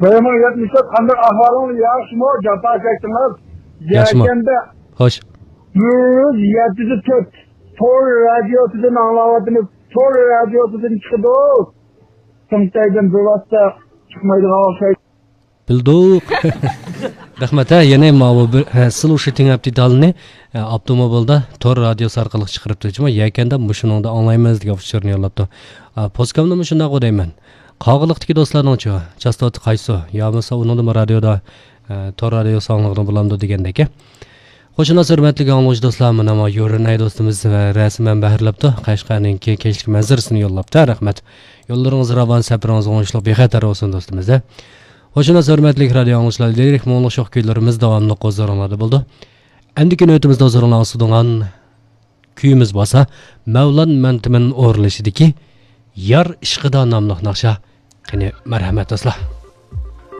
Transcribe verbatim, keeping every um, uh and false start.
بىر مىڭ يەتمىش تۆت، قانداق ئەھۋالىڭلار؟ ياخشىمۇ؟ جاپا چەكتىڭىز؟ ياخشىمۇ؟ يەكەندە خوش. يۈز يەتتە تۆت تور رادىيوسىدىن ئاڭلاۋاتىمىز. تور رادىيوسىدىن چىقىدۇ. سىڭتەيدىن بىۋاسىتە چىقمايدىغان ئوخشايدۇ. بىلدۇق. رەھمەت، ھە، يەنە ماۋۇ بىر، ھە، سىلۇشى تېڭەپ دېتالىنى، ھە، ئاپتوموبىلدا تور رادىيوسى ئارقىلىق چىقىرىپتۇ. جۇمۇ يەكەندە مۇشۇنىڭدا ئاڭلايمىز دېگەن ئۇچۇرنى يوللاپتۇ. ئا، پوسكامنىمۇ شۇنداق دەيمەن. قاغىلىقتىكى دوستلارنىڭچۇ؟ چاستوتا قايسى؟ يا بولمىسا ئۇنىڭدىمۇ رادىيودا، ئە، تور رادىيوسى ئاڭلىغىلى بولامدۇ دېگەندەك. خوش ئاڭلايسىز ھۆرمەتلىك ئاڭلىغۇچى دوستلار، مانا ما يورۇنەي دوستىمىز ۋە رەسىمەن بەھرىلەپتۇ. قەشقەرنىڭكى كەچلىك مەنزىرىسىنى يوللاپتۇ. رەھمەت. يوللىرىڭىز راۋان، سەپىرىڭىز ئوڭۇشلۇق، بىخەتەر بولسۇن دوستىمىز. خوش ئاڭلايسىز ھۆرمەتلىك رادىيو ئاڭلىغۇچىلار، لىرىك مۇڭلۇق شوخ كۈيلىرىمىز داۋاملىق ھۇزۇرۇڭلاردا بولىدۇ. ئەمدىكى نۆۋىتىمىزدە ھۇزۇرۇڭلارغا سۇنىدىغان كۈيىمىز بولسا مەۋلان مەنتىمىن ئورۇنلىشىدىكى يار ئىشقىدا ناملىق ناخشا. قېنى، مەرھەمەت دوستلار.